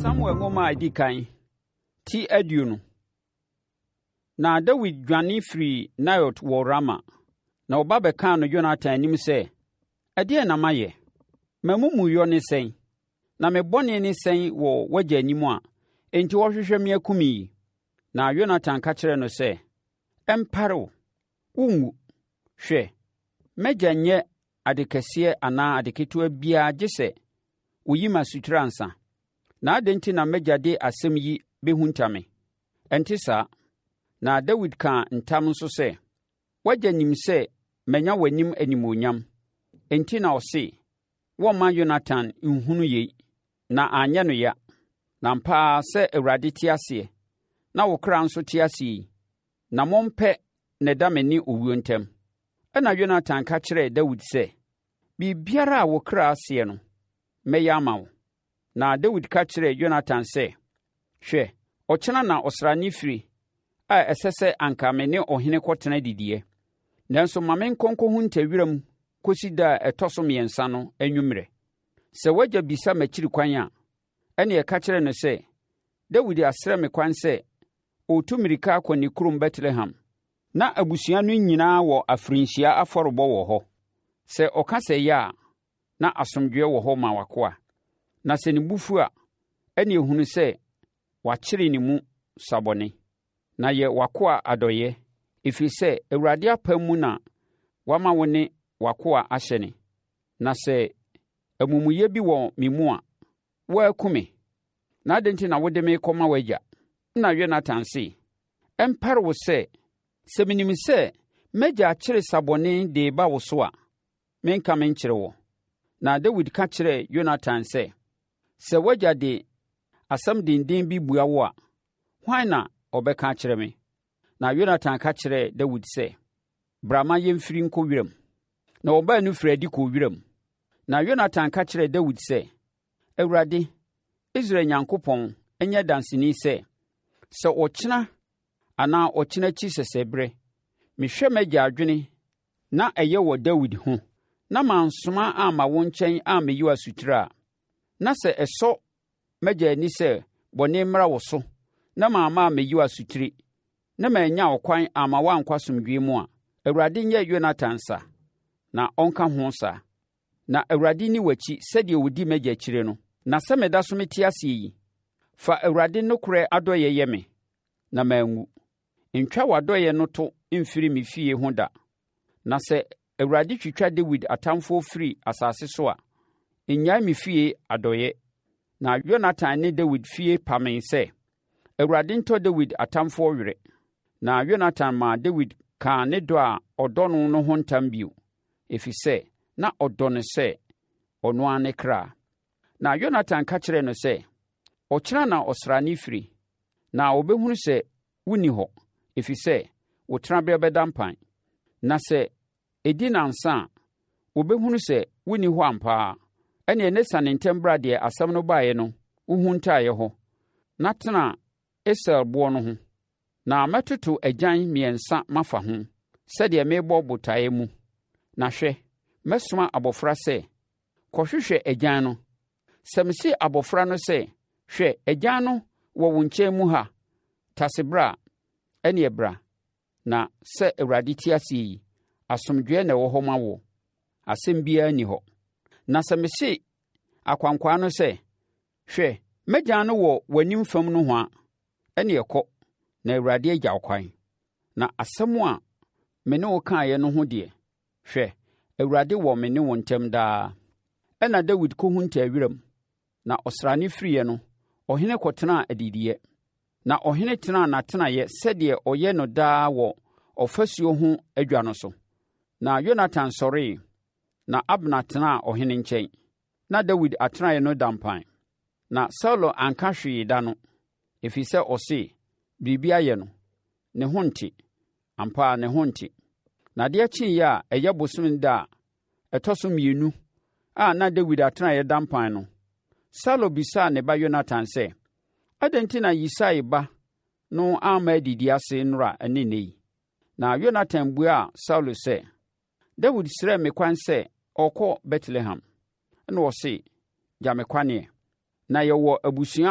Samuel nwoma a ɛdi kan, ti 20. Na Dawid dwane firii Naiot wɔ Rama, na ɔba bɛkaa no Yonatan anim sɛ, Ɛdeɛn na mayɛ? M'amumuyɔ ne sɛn? Na me bɔne ne sɛn wɔ w'agya anim a enti ɔrehwehwɛ me aku me yi? Na Yonatan ka kyerɛɛ no sɛ, Ɛmpare wo! Worenwu! Hwɛ, m'agya nyɛ ade kɛseɛ anaa ade ketewa biara gye sɛ ɔyi me asotire ansa. Na adɛn nti na m'agya de asɛm yi bɛhunta me? Ɛnte saa. Na Dawid kaa ntam nso sɛ, W'agya nim sɛ manya w'anim animuonyam, enti na ɔse, 'Wɔmma Yonatan nhunu yei, na anyɛ no ya.' Na ampa ara sɛ Awurade te aseɛ, na wo kra nso te aseɛ yi, nammɔn pɛ na ɛda me ne owuo ntam. Ɛnna Yonatan ka kyerɛɛ Dawid sɛ, Biribiara a wo kra seɛ no, mɛyɛ ama wo. Na Dawid ka kyerɛɛ Yonatan sɛ, Hwɛ, ɔkyena na ɔsrane fire a ɛsɛ sɛ anka me ne ɔhene kɔtena didiiɛ. Nanso ma menkɔ nkɔhunta wiram kɔsi da a ɛtɔ so mmiɛnsa no anwummerɛ. Sɛ w'agya bisa m'akyiri kwan a, ɛnneɛ ka kyerɛ no sɛ, 'Dawid asrɛ me kwan sɛ ɔretu mmirika akɔ ne kurom Betlehem, na abusua no nyinaa wɔ afirinhyia afɔrebɔ wɔ hɔ. Sɛ ɔka sɛ ɛyɛ a, na asomdwoeɛ wɔ hɔ ma w'akoa. Na sɛ ne bo fu a, ɛnneɛ hunu sɛ wakyere ne mu sabɔne. Na yɛ w'akoa adɔeɛ, ɛfiri sɛ Awurade apam mu na wama wo ne w'akoa ahyɛne. Na sɛ amumuyɛ bi wɔ me mu a, wo ara ku me. Na adɛn nti na wode me rekɔma w'agya? Ɛnna Yonatan se, Ɛmpare wo sɛ, sɛ menim sɛ m'agya akyere sabɔne de reba wo so a, menka menkyerɛ wo. Na Dawid ka kyerɛɛ Yonatan sɛ, Sɛ w'agya de asɛm denden bi bua wo a, hwan na ɔbɛka akyerɛ me? Na Yonatan ka kyerɛɛ Dawid sɛ, Bra ma yɛmfiri nkɔ wiram. Na wɔn baanu firii adi kɔɔ wiram. Na Yonatan ka kyerɛɛ Dawid sɛ, Awurade, Israel Nyankopɔn, nyɛ danseni sɛ, sɛ ɔkyena anaa ɔkyena akyi sɛsɛberɛ, mehwɛ m'agya adwene na ɛyɛ wɔ Dawid ho, na mansoma amma wo nkyɛn ammɛyi wo asotire a, na sɛ ɛsɔ m'agya ani sɛ bɔne mmra wo so na mamma ammɛyi wo asotire, na mannya ɔkwan amma woankɔ asomdwoeɛ mu a, Awurade nyɛ Yonatan sa, na ɔnka ho saa. Na Awurade nni w'akyi sɛdeɛ ɔdi m'agya akyire no. Na sɛ meda so mete aseɛ yi, fa Awurade nokorɛ adɔeɛ yɛ me, na manwu. Ntwa w'adɔeɛ no to mfiri me fie ho da. Na sɛ Awurade twitwa Dawid atamfoɔ firi asase so a, nnyae me fie adɔeɛ. Na Yonatan ne Dawid fie pamee sɛ, Awurade ntɔ Dawid atamfoɔ were. Na Yonatan maa Dawid kaa ne dɔ a ɔdɔ no no ho ntam bio, ɛfiri sɛ na ɔdɔ no sɛ ɔno ara ne kra. Na Yonatan ka kyerɛɛ no sɛ, Ɔkyena na ɔsrane fire, na wɔbɛhunu sɛ wonni hɔ, ɛfiri sɛ wo tenabea bɛda mpan. Na sɛ ɛdi nnansa a, wɔbɛhunu sɛ wonni hɔ ampa ara. Ɛnneɛ ne sane ntɛm bra deɛ asɛm no baeɛ no wohuntaeɛ hɔ, na tena Esel boɔ no ho. Na mɛtoto agyan mmiɛnsa mafa ho, sɛdeɛ merebɔ botaeɛ mu. Na hwɛ, mɛsoma abɔfra sɛ, 'Kɔhwehwɛ agyan no. Sɛ mese abɔfra no sɛ, 'Hwɛ, agyan no wɔ wo nkyɛn mu ha, tase bra' a, ɛnneɛ bra, na sɛ Awurade te aseɛ yi, asomdwoeɛ na ɛwɔ hɔ ma woɔ. Asɛm biara nni hɔ. Na sɛ mese akwankwaa no sɛ, 'Hwɛ, m'agyan no wɔ w'anim fam nohoa' ɛnneɛ kɔ, na Awurade agya wo kwan. Na asɛm a me ne wo kaeɛ no ho deɛ, hwɛ, Awurade wɔ me ne wo ntam daa. Ɛnna Dawid kɔhuntaa wiram, na ɔsrane firiiɛ no, ɔhene kɔtenaa adidiiɛ. Na ɔhene tenaa n'atenaeɛ sɛdeɛ ɔyɛ no daa wɔ ɔfasuo ho adwa no so. Na Yonatan sɔree, na Abner tenaa ɔhene nkyɛn. Na Dawid atenaeɛ no da mpan. Na Saulo anka hwee da no, ɛfiri sɛ ɔse, Biribi ayɛ no. Ne ho nte. Ampa ara ne ho nte. Na adeɛ kyeeɛ a ɛyɛ bosome da a ɛtɔ so mmienu a na Dawid atenaeɛ da mpan no, Saulo bisaa ne ba Yonatan sɛ, Adɛn nti na Yisai ba no amma adidi ase nnora ne nnɛ yi? Na Yonatan buaa Saulo sɛ, Dawid srɛɛ me kwan sɛ ɔrekɔ Betlehem. Ɛnna ɔse, 'Gya me kwane. Na yɛwɔ abusua